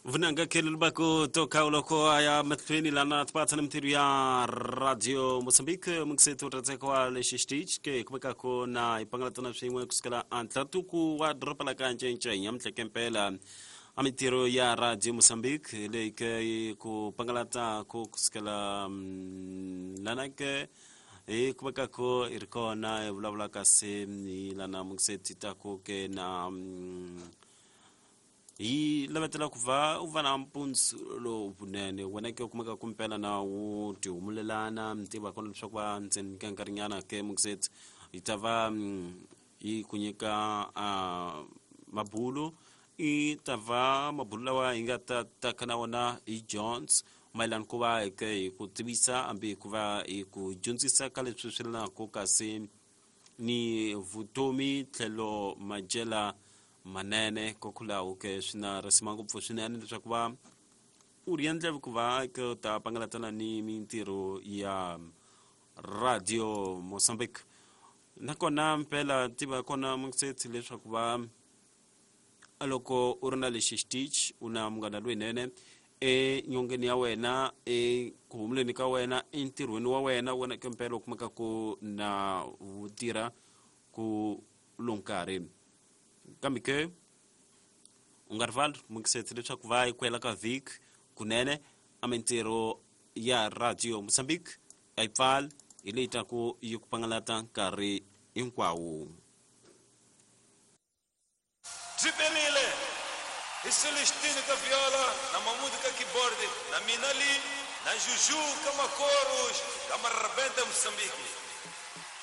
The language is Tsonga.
Vunanga khelo lubako toka uloko aya mahlweni lana tipatsa na mintirho ya Radio Mozambique mukiseti u rhandzeka wa lexi xitichi ke ku vekako na hi pangalatana swin'we kusukela antlatuku wa doroba la ka Ncencenya nyamutlha mpela a mintirho ya Radio Mozambique leyi ke ku pangalata ku kusukela lana ke hi ku vekako hi ri kona hi vulavula kasi hi lana mukiseti taku ke na hi lavetela ku va u va na mpundzu lowunene wena ke u kumeka ku mpela na wu tihumulelana mi tiva kona leswaku va ndzeni ka nkarhinyana ke mukiseti yi ta va yi ku nyika mabulu i ta va mabulu lawa hi nga ta taka na wona hi Jones mayelana ku va hi ke hi ku tivisa hambi ku va hi ku dyondzisa ka leswi swi lanaku kasi ni vutomi tlhelo madyela manene kokwalaho ke swi na risima ngopfu swinene leswaku va u ri endla ku va ke u ta pangalatana ni mintirho ya Radio Mozambique nakona mpela tiva kona muksetsi leswaku va loko u ri na lexi xitichi u na munghana lowunene enyongeni ya wena eku humuleni ka wena entirhweni wa wena wena ke mpela u kumeka ku na wu tirha ku lo nkarhi kambe ke u nga rivali mukiseti leswaku va yi kwela ka vhiki kunene a mintirho ya Radio Mozambique a yi pfali hi leyi taku yi ku pangalata nkarhi hinkwawo. Byi perile hi Celestino ka viola na Mamudu ka keyboard na mina li na Juju ka makoros ka Marrabenta Moçambique.